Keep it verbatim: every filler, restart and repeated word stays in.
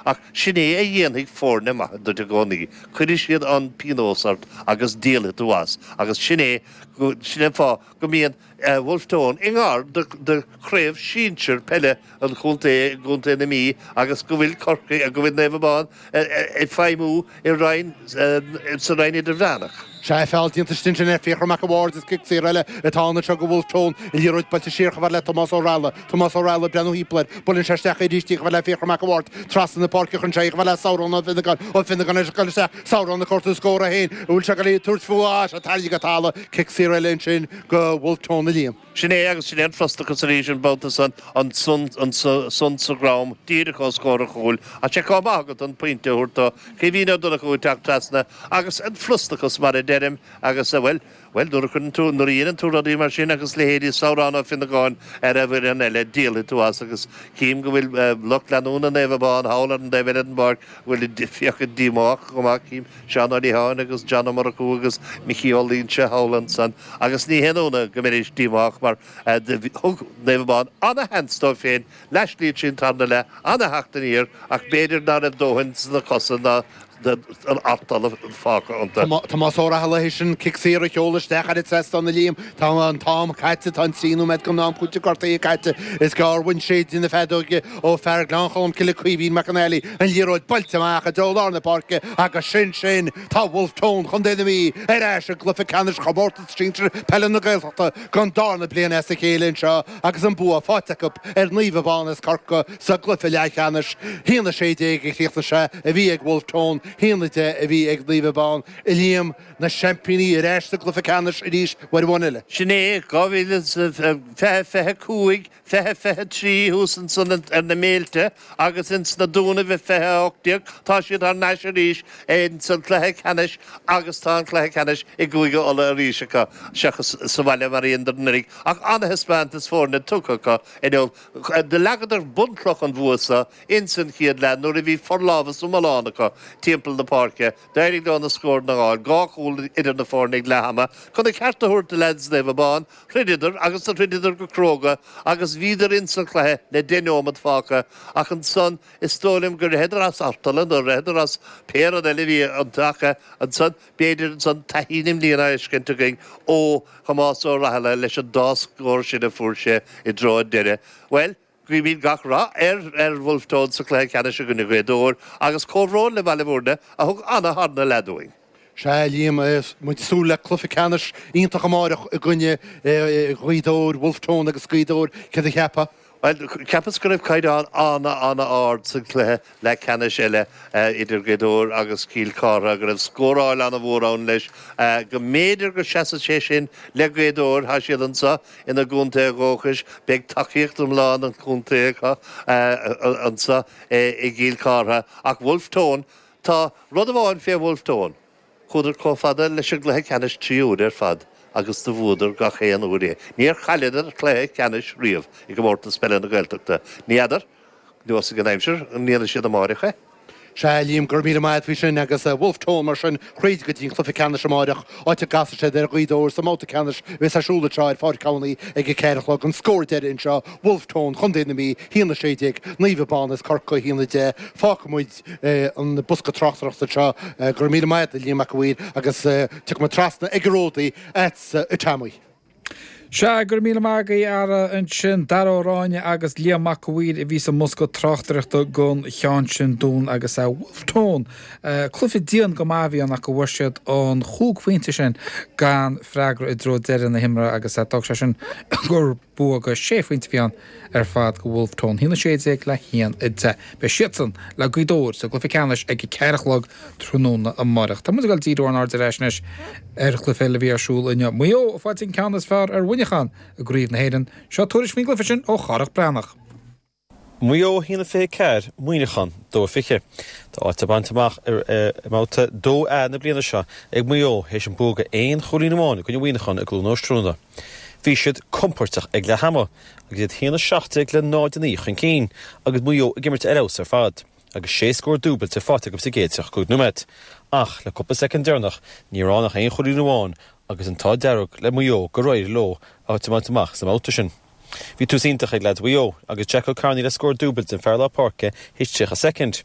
Ach sin é a dhéanfaidh foirne maithe duit i gcónaí. Cuirfidh siad an pionós ort agus díolfaidh tú as agus sin é sin é an fáth go mbíonn Wolfe Tone i ngar do chraobh sinsir peile an chontae gContae na Mí agus go bhfuil Corcaigh go bhfuil Naomh Abán ag feidhmiú i roinn sa roinn idirmheánach. Sé feall déanta sin sin ar Fiachra Mac a' Bhaird is cic saor eile atá anseo go Wolfe Tone an liathróid buailte siar chomh fada le Tomás Ó Raghallaigh Tomás Ó Raghallaigh breathnú timpeall air buaileann sé isteach arís chomh fada le Fiachra Mac a' Bhaird trasna na páirce chun sé chomh fada le Samhrán Ó Finnegáin Ó Finnegáin leis ag isteach Samhrán ag cuartú scór é féin bhfuil sé go tabhairt faoi sé tarraingthe go talamh cic saor eile ansin go Wolfe Tone a Liam. Sin é agus sin é an frustrachas arís an babhta san an son an son sa gram díreach os comhair a chúil a sé cá agat an pointe thuirta Caoimhín Ó Donnchú teacht trasna agus an frustrachas mar a deirim agus bhuel Well nuair a chuireann tú nuair a dhéanann tú rudaí mar sin agus leithéidí Samhrán Ó Finnegáin ar a bhfuil an eile díolfaidh tú as agus cím go bhfuil lucht leanúna Naomh Abán thall ar an taobh eile den bpáirc bhfuil fiacha díomách go maith cím Seán Ó Liatháin agus John Ó Murchú agus Micí Ó Loinse thall ansan agus ní haon ionadh go mbeidís díomách mar thug Naomh Abán an-sheans dóibh féin leaslíad sin tarna le an-theacht aniar ach b'fhéidir ná raibh dóthain sna cosa ná an artal fágtha iontu. Tomás Ó Raghallaigh sin cic saor a sheoladh isteach ar an trasnán a Liam Tá an t-am caite tá an trí nóiméad den am cúiteamh gortaithe caite is gearr bhain sé de na feadóige ó fear Ghleann Cholm Cille Caoimhín Mac an Ailí an liathróid buailte amach i dtreo lár na páirce agus sin sin tá Wolfe Tone Chontae na Mí ar ais i gcluiche ceannais chomórtas sinsir peile na Gaeltachta don darna bliain as a chéile anseo agus an bua faighte acu ar Naomh Abán as Corcaigh sa gcluiche leathcheannais haon a sé déag a chríochnaigh sé a bhí ag Wolfe Tone haon a deich a bhí ag Naomh Abán a Liam na seaimpíní ar ais sa gcluiche ceannais arís uair amháin eile. Sin é dhá mhíle fiche fiche cúig fiche fiche trí thuas ansan ar na méilte agus ins na Dúnaibh i fiche ocht déag tá siad thar n-ais arís in san cluiche ceannais agus tá an cluiche ceannais i gCúige Uladh arís acu seachas sa bhaile mar aon anuraidh ach an-thaispeántas foirne tugtha acu inniu do leagadar bunchloch an bhua seo ins an chéad leath nuair a bhí forlámhas iomlán acu timpeall na páirce d'éirigh leo na scór na gáil dhá chúl idir na foirne ag leath ama chun a ceart a thabhairt do leaids Naomh Abán throideadar agus do throideadar go cróga agus bhíodar ins an chluiche le deich nóiméad fágtha ach ansan is dóigh liom gur ritheadar as artal nó ritheadar as pé rud eile bhí iontu ansan b'fhéidir ansan taithí na mbliana fheiscint againn ó Thomás Ó Raghallaigh leis an dá scór sin a fuair sé i dtreo an deireadh. Well, Guímid gach rath ar ar Wolfe Tone sa chluiche ceannais i gcoinne Ghaoth Dobhair agus comhbhrón le Baile Bhúirne a thug an-tharna leath dúinn. Sé Liam muid súil le cluiche ceannais iontach amárach i gcoinne Ghaoth Dobhair, Wolfe Tone agus Gaoth Dobhair céard a cheapfá. Well cheapas go raibh caighdeán an-an-ard sa chluiche le ceannais eile idir Gaoth Dobhair agus Cill Chartha go raibh scóráil an-mhór ann leis go mb'fhéidir go seasfaidh sé sin le Gaoth Dobhair tá siad anseo ina gcontae dúchais beidh tacaíocht iomlán an chontae acu anseo i gCill Chartha ach Wolfe Tone tá rud amháin fé Wolfe Tone. Chuadar chomh fada leis an gcluiche ceannais trí huaire ar fad agus do bhuadar gach aon uair é. Níor chailleadar cluiche ceannais riamh i gcomórtas peile na Gaeltachta. Ní fheadar nós ag an aimsir an ndéanfaidh siad amárach é. Sé Liam gur míle maith faoi sin agus Wolfe Tone mar sin thríd go dtí an cluiche ceannais amárach áit a gcasfaidh siad ar Ghaoth Dobhair sa mbabhta ceannais bheas ar siúl anseo ar Pháirc Abhnaí ag a ceathair a chlog an scór deiridh anseo Wolfe Tone Chontae na Mí haon a sé déag Naomh Abán as Corcaigh haon a deich fágfaidh muid an bosca tráchtaireachta seo gur míle maith Liam Mac Uidhir agus tiocfaidh muid trasna ag an ródaí agatsa a Tommy. Se gur míle magaí ara ansin Dara Ó Ráinne agus Liam Mac Uidhir a bhí sa mbosca tráchtaireachta don cheann sin dúinn agus a Wolfe Tone. Cluiche dian go maith a bhí ann ach go bhfuair siad an chúig phointe sin gan freagra i dtreo deireadh na himeartha agus d'fhág sé sin gur bua go sé phointe bhí ann ar fad go Wolfe Tone haon a sé déag le haon a deich. Beidh siadsan le Gaoth Dobhair sa gcluiche ceannais ag ceathair a chlog tráthnóna amárach. Tá muid ag díriú ár n-aird ar ais ar chluiche eile a bhí ar siúl inniu. Maigh Eo ag fáil an ceann is fearr ar Mhuineachán i gCraobh na hÉireann, seo tuairisc faoin gcluiche sin ó Chárthach Breathnach. Maigh Eo haon a fiche ceathair Muineachán dó fiche. Tá áit bainte amach ar mbabhta dó A na bliana seo ag Maigh Eo théis an bua aon chúilín amháin i gcoinne Mhuineacháin i gCluain Óstrúna. Bhí siad compordach ag leath ama agus iad haon a seacht déag le náid a naoi chun cinn agus Maigh Eo ag imirt ar fheabhas ar fad, agus sé scór dúbailte faighte acu sa gcéad tríocha cúig nóiméad. Ach le cúpla soicind deireanach ní raibh ach aon chúilín amháin agus an t-ádh dearg le Maigh Eo gur éirigh leo áit a bhaint amach sa mbabhta sin. Bhí tús iontach ag leaids Mhaigh Eo agus Jack O'Carney le scór dúbailte den fear lár páirce théis tríocha soicind.